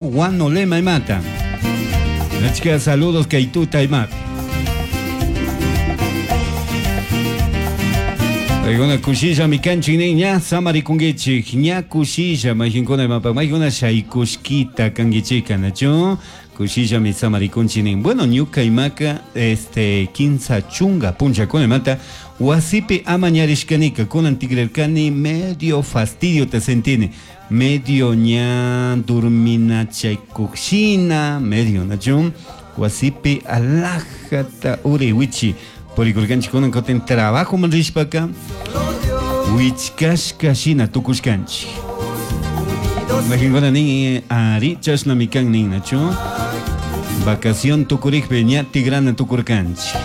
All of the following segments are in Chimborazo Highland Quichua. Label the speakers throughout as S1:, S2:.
S1: Guanolema imata. Achka saludos kay tuta imapi. Paykuna kushilla mi kanchik nin ña samarikunkichik ña kushilla mayqinkuna imapa maykuna shaykushkita kankichika nachu kushilla mi samarikunchik nin. Bueno, ñuka imaka este 30 punchakuna imata wasipi amañarishkanika kunan tigrarkani medio fastidio te sentini medio ña durminachaykuqshina medio nachu wasipi alajata uray wichi purikurkanchik kunan kutin trabajoman rishpaka wichkashka shina tukushkanchik mayqinkuna nin ari chashnami kan nin nachu vacación tukurikpi ña tigrana tukurkanchik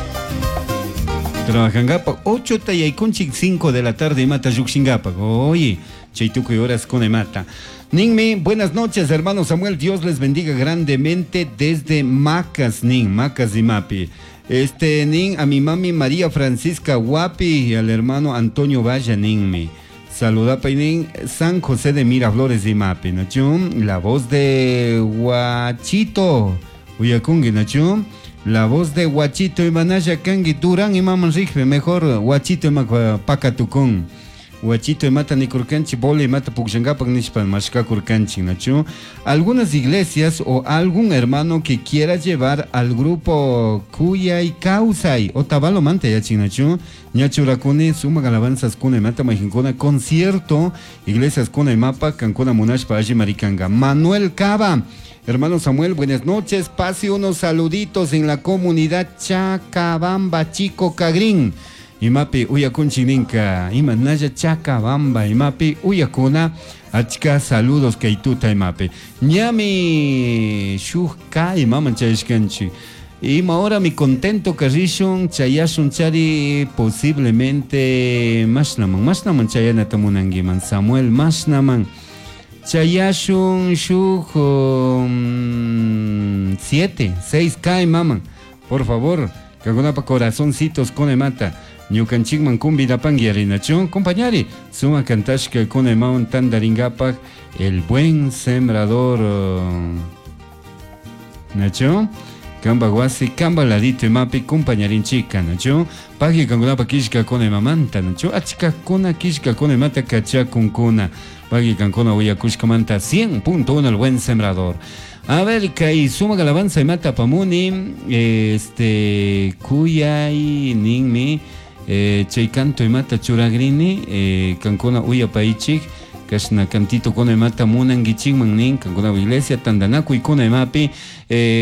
S1: trabajankapak 8 ta yaykunchik 5 de la tarde imata llukshinkapak. Oye, chay tukuy horas con imata. Ninmi, buenas noches, hermano Samuel. Dios les bendiga grandemente desde Macas, Nin, Macas y Mapi. Este, Nin, a mi mami María Francisca Guapi y al hermano Antonio Valla, Ninmi. Saluda, Nin, San José de Miraflores y Mapi, ¿no? La voz de Guachito, Uyakungi, ¿no? La voz de Guachito y Manaya Kangi, Durán y Maman Rigbe, mejor Guachito y Pacatucón. Guachito imata nikurkanchik, bola imata pukllankapak nishpa mashkakurkanchik, nachu. Algunas iglesias o algún hermano que quiera llevar al grupo Kuyay Kawsay Otavalo manta yachin, nachu. Ñachurakuni sumak alabanzas kuna imata mayqinkuna concierto iglesias kuna imapa kankuna munashpa alli marikanga. Manuel Cava. Hermano Samuel, buenas noches. Pase unos saluditos en la comunidad Chacabamba Chico Cagrín. Imapi uyakunchik ninka, ima naya Chacabamba, imapi uyakuna, achka saludos kay tuta imapi. Ñami shuk ka imaman chayashkanchik. Ima hora mi contento karishun, chayashun chari posiblemente mashnaman, mashnaman chayanata munankiman, Samuel mashnaman. Chayashun shuk 7, 6 ka imaman. Por favor, kankunapa corazoncitos con imata. Ñukanchikman convidapanki arinachu, compañari, suma kantashka con imawan tandaringapak, el buen sembrador, nachu, kamba wasi, kamba ladito imapi, compañarinchika, nachu, pagi kankunapa kishka con imamanta, nachu, achkakuna kishka con imata kachakunkuna, pagi kankuna uyakushkamanta 100.1 el buen sembrador. A ver, kay sumak alabanza imata pamuni, este, kuyay ninmi, chay canto imata churagrini, kankuna uyapaychik, kashna cantito kuna imata munankichikman nin, kankuna iglesia tandanakuy kuna imapi,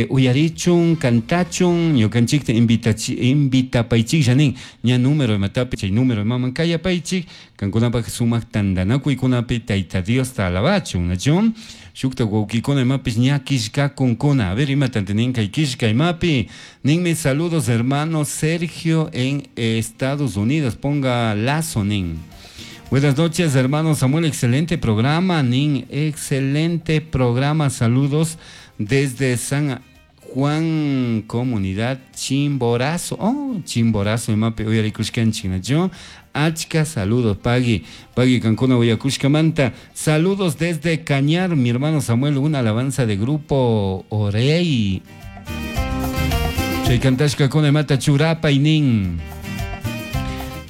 S1: uyarichun, kantachun, ñukanchikta invitapaychiklla nin, ña número imatapi, chay número imaman kayapaychik, kankunapak sumak tandanakuykunapi Tayta Diosta alabachun, nachun? Shukta wawkikuna imapis ña kishkakunkuna. A ver, imata nin kay kishka imapi. Ninmi saludos hermano Sergio en Estados Unidos. Ponga lazo, nin. Buenas noches, hermano Samuel. Excelente programa, nin. Excelente programa. Saludos desde San Juan, comunidad Chimborazo. Oh, Chimborazo, imapi uyarikushkanchik, nachu. Achka, saludos, Pagui. Pagui Cancuna, Uyakushkamanta. Saludos desde Cañar, mi hermano Samuel, una alabanza de grupo Orey. Chay kantashka kuna imata churapa y nin.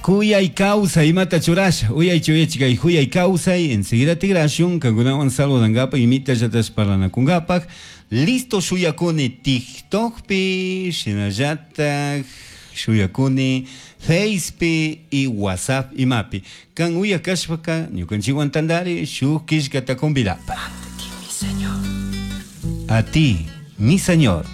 S1: Kuyay kawsay imata churasha. Uyay chuyachikay kuyay kawsay. Enseguida tigrashun, kankunawan saludangapa, imita llatash parlanakungapak. Listo shuyakuni TikTokpi, shinallatak shuyakuni Facepi y WhatsApp imapi. Kan uyakashpaka ñukanchikwan tandari shuk killkata convidapa.
S2: A ti, mi Señor.
S1: A ti, mi Señor.